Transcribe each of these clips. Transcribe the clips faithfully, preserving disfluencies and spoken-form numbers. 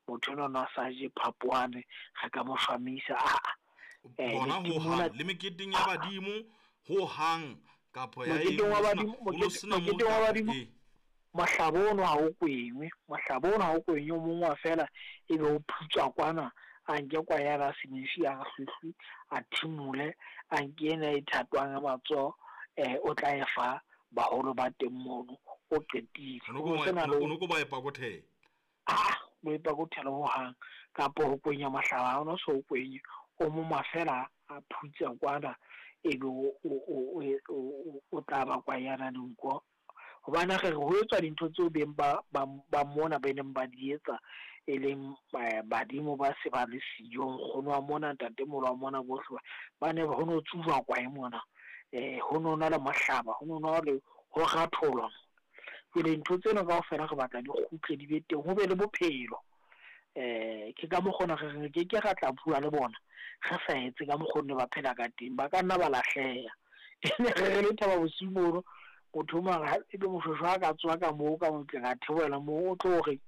Motho enwa na sa je phapoane, re ka mo shwamisa aa. Bona ho hang le meketeng ya badimo ho hang kapa ya Moketeng wa badimo, moketeng wa badimo mohlaba ono ha o kwenywe, mohlaba ono ha o kwenywe, o mong wa fela ebe o phutswa kwana, a nke kwayana senifi a hlwehlwe, a thimule, a nke ena e thatwang ya matsoho, eh o tla e fa baholo ba teng mono, o qetile. O no ko ba epa kothela. Ah, o epa kothela ho hang kapa ho kwenya mohlaba ha ono so kwenye, o mong fela a phutsa kwana ebe o o o o tla ba kwayana dinko. Hobane re re ho etswa dintho tseo beng ba ba mona ba neng ba di etsa, e leng badimo ba se ba le siyo, nkgono wa mona, ntatemoholo wa mona, bohle ba ne ho no tsuba kwae mona, eh ho no na le mohlaba, ho no na le ho ratholwa. Jwale ntho tsena kaofela re batla di kgutle di be teng, ho be le bophelo. Eh ke ka mokgona re re ke ke ra tla bua le bona re sa etse ka mokgwa ba phela ka teng, ba ka nna ba lahleha. Ene re re le Thaba Bosiu mono, motho mara ebe moshweshwe ha ka tswa ka moo ka motleng a theohela moo, o tlo re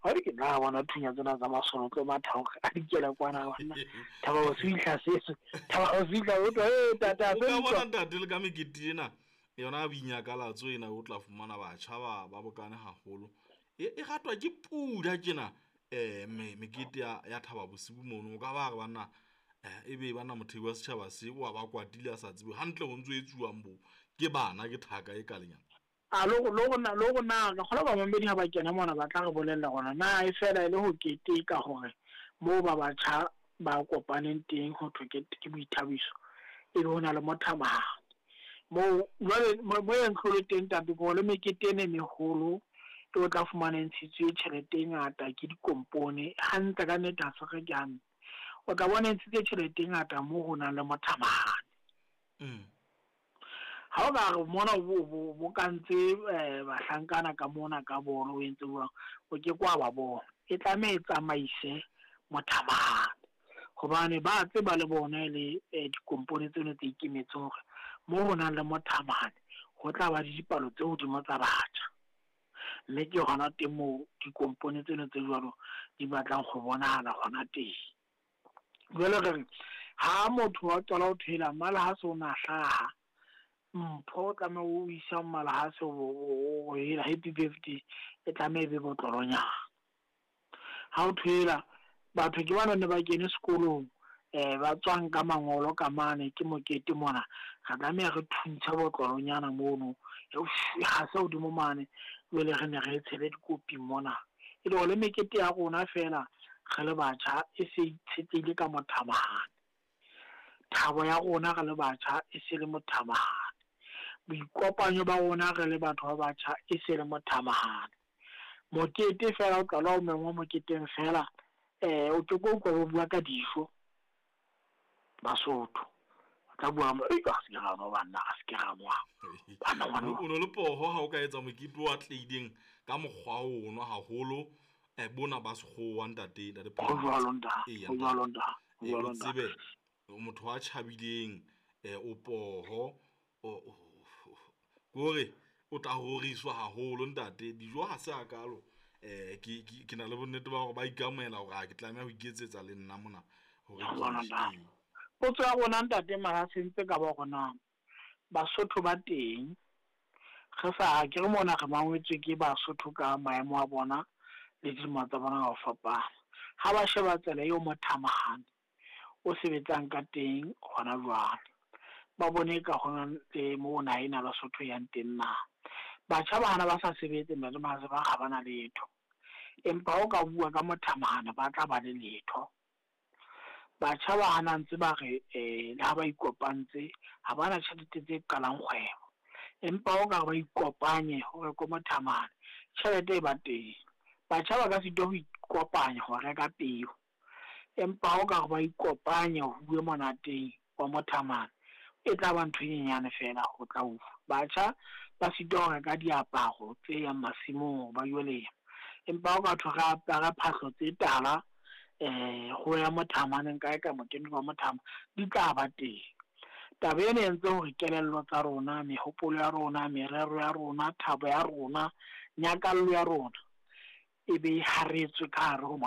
ha di ke nna bona thunya tsena tsa masole, o tlo matha hore a di kela kwana banna. Thaba Bosiu hlasetswe, Thaba Bosiu hla o tlo e tata o ka bona ntate le ka mekete ena yona boinyakalatso ena, o tla fumana batjha ba ba bokane haholo, e e ratwa ke pula tjena. Eh mekete ya ya Thaba Bosiu mono, o ka ba re banna eh ebe bana mothei wa setjhaba se wa ba kwatile a sa tsebe hantle ho ntso etsuwang bo ke bana ke thaka e kalenyana. A lo lo rona lo rona re kgola ba mamedi ha ba kena mona ba tla re bolella hore na e fela e le ho keteka hore moo ba batjha ba kopaneng teng ho thwe ke ke boithabiso, ebe ho na le mothamahane moo. Jwale mo e ntlholo teng ntate ke le mekete ena e meholo e o tla fumana e ntshitswe tjhelete e ngata ke dikompone hantle ka nnete, ha se re ke hantle. O tla bona e ntshitse tjhelete e ngata moo ho nang le mothamahane. Mm. Ha o ka re mona bo bo kantse bahlankana ka mona ka bolo o entse jwang, o ke kwa ba bona. E tlameha e tsamaise mothamahane, hobane ba tseba le bona le dikompone tseno tse ikemetseng hore moo ho nang le mothamahane ho tla ba le dipalo tse hodimo tsa batjha. Mme ke hona teng moo dikompone tseno tse jwalo di batlang ho bonahala hona teng. Jwale re re ha motho wa qala ho thwela mala ha se o na hlaha, mpho o tlameha o isa mala ha se o hela happy birthday, e tlameha e be botlolonyana. Ha o thwela batho ke bana ne ba kene sekolong, eh ba tswang ka mangolo ka mane ke mokete mona, re tlameha re thuntshe botlolonyana mono, ha se hodimo mane, jwale re ne re tshele dikopi mona. E le hore le mekete ya rona fela re le batjha e se itshetlehile ka mothamahane. Thabo ya rona re le batjha e se le mothamahane. Boikopanyo ba rona re le batho ba batjha e se le mothamahane. Mokete fela o qala o mengwa moketeng fela, eh o ke ko utlwa ba bua ka dijo Basotho. O tla bua mo, e ka se ke ra nwa banna, a se ke ra nwa. Banna ngwana O no le poho ha o ka etsa mokete o atlehileng ka mokgwa ono haholo, eh bona ba sekgowa ntate, ntate Ho jwalo ntate, ho jwalo ntate, ho jwalo ntate. Tsebe motho a tjhabileng, eh o poho, o kore o tla roriswa haholo ntate. Dijo ha se hakalo, eh ke ke na le bonnete ba hore ba ikamohela hore ha ke tlameha ho iketsetsa le nna mona hore ke. Potso ya rona ntate mara se ntse ka ba hore na Basotho ba teng re sa ke re mona re mangwetswe ke Basotho ka maemo a bona le dilemo tsa bona ka ho fapana. Ha ba sheba tsela eo mothamahane o sebetsang ka teng hona jwale, ba bone ka hona le moo naha ena Basotho yang teng na. Batjha ba hana ba sa sebetse ntate Mahase, ba ha bana letho, empa o ka bua ka mothamahane ba tla ba le letho. Batjha ba hana ntse ba re eh le ha ba ikopantse ha bana tjhelete tse qalang kgwebo, empa o ka ba ikopanye hore ko mothamahane tjhelete e ba teng. Batjha ba ka sitwa ho ikopanya ho reka peo, empa o ka ba ikopanye ho bue monateng wa mothamahane e tla ba ntho e nyenyane fela ho tla utlwa. Batjha ba sitwa ho reka diaparo tse yang masimong ba yo lema, empa o ka thwe re apare phahlo tse tala eh ho ya mothamaneng kae ka mokete wa mothama di tla ba teng. Taba ena e entse hore kelello tsa rona, mehopolo ya rona, merero ya rona, thabo ya rona, nyakallo ya rona e be haretswe ka hare ho